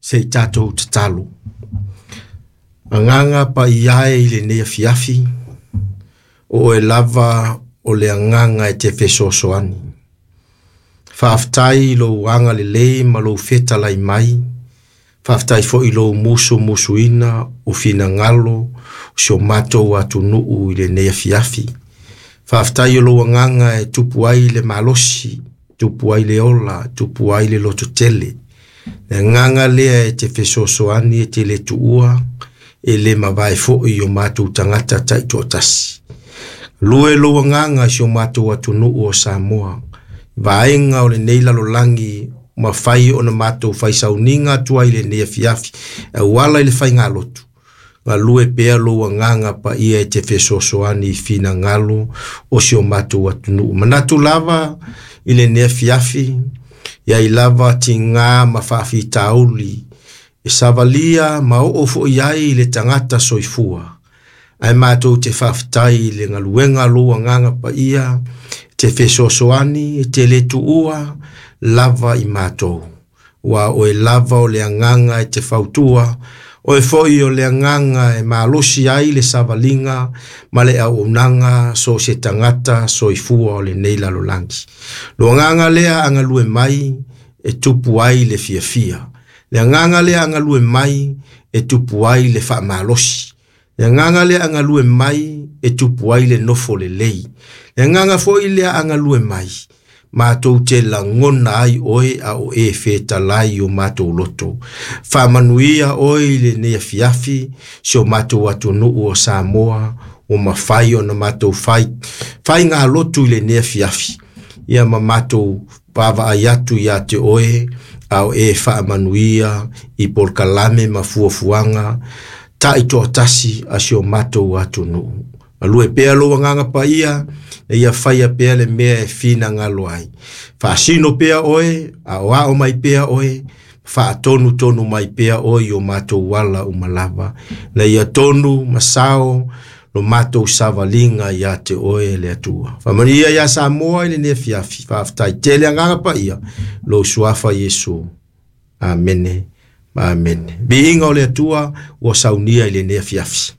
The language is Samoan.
Se i tatou tatalo. Agaga Paia e i lenei afiafi, o oe lava o le Agaga e te fesoasoani. Faafetai i lou agalelei ma lou fetalai mai, faafetai foi i lou musumusuina o finagalo o si o matou atunuu i lenei afiafi. Faafetai o lou Agaga e tupu ai le malosi, tupu ai le ola, tupu ai le lototele. Le Agaga lea e te fesoasoani e te le tuua, e le mavae foi i o matou tagata taitoatasi. Lue lou Agaga i si o matou atunuu o Samoa, vaega o lenei lalolagi mafai ona matou fai sauniga atu ai i lenei afiafi, e auala i le faigalotu, galue pea lou Agaga Paia e te fesoasoani i finagalo o si o matou atunuu. Manatu lava i lenei afiafi, iai lava tiga ma faafitauli e savalia ma oo foi ai i le tagata soifua, ae matou te faafetai i le galuega a lou Agaga Paia, te fesoasoani e te le tuua lava i matou. Ua oe lava o le Agaga e te fautua, oe foi o le Agaga e malosi ai le savaliga ma le auaunaga so o se tagata soifua o lenei lalolagi. Lo Agaga lea a galue mai e tupu ai le fiafia. Le Agaga lea a galue mai e tupu ai le faamalosi. Le Agaga lea a galue mai e tupu ai le nofo lelei. Le Agaga foi lea a galue mai, matou te lagona ai oe a o e fetalai i o matou loto. Faamanuia oe i lenei afiafi, si o matou atunuu o Samoa, ua mafai ona matou faigalotu i lenei afiafi, ia ma matou vaavaai atu ia te oe, a o e faamanuia i polokalame ma fuafuaga taitoatasi a si o matou atunuu. Galue pea lou Agaga Paia, e ia faia pea le mea e finagalo ai. Faasino pea oe, aoao mai pea oe, faatonutonu mai pea oe i o matou ala uma lava. Na ia tonu ma sao lo matou savaliga ia te oe le Atua. Faamanuia ia Samoa i lenei afiafi. Faafetai tele Agaga Paia, lou suafa Iesu. Amene ma amene. Viiga o le Atua ua saunia i lenei afiafi.